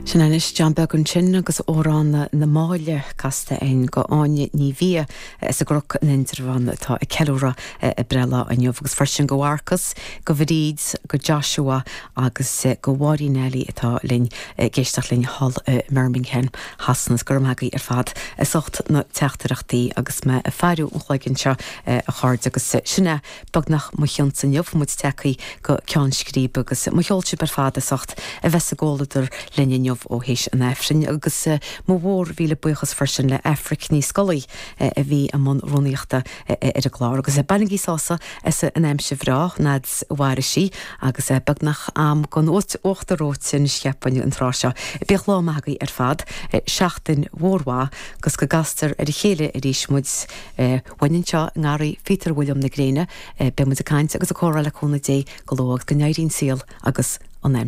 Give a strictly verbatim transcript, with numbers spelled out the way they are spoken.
Sin anois John Beag ansin agus amhrán na Máille casta againn do Áine Ní Bhia as an gCnoc in Indreabhán atá ag ceiliúradh a breithlá inniu agus freisin go Mharcas, go Bhríd, go Joshua agus go Mháirín Eilí atá linn ag éisteacht linn thall i mBirmingham Shasana go raibh maith agaibh ar fad as ucht na teachtaireachtaí agus mé ag faire an chloig anseo a chairde agus sin é beagnach mo chionsa inniu muid tagtha go ceann scríbe agus mo cheol sibh ar fad as ucht a bheith sa gcomhluadar linn inniu ó théis an Aifrinn agus mo mhór mhíle buíochas freisin le Aifric Ní Scolaí a bhí i mbun rúnaíochta ar an gclár agus bainigí sásamh as an aimsir bhreá fhad is a mhairfidh sí agus beagnach am don uachtar reoite anois cheapfainn an tráth seo. Bíodh lá maith agaibh ar fad, seachtain mhór mhaith agus go gcastar ar a chéile arís muid uainn anseo i ngarraí Phíotair William na Gréine, beidh muid ag caint agus ag comhrá le cúnamh Dé go luath go n-éiríonn saol agus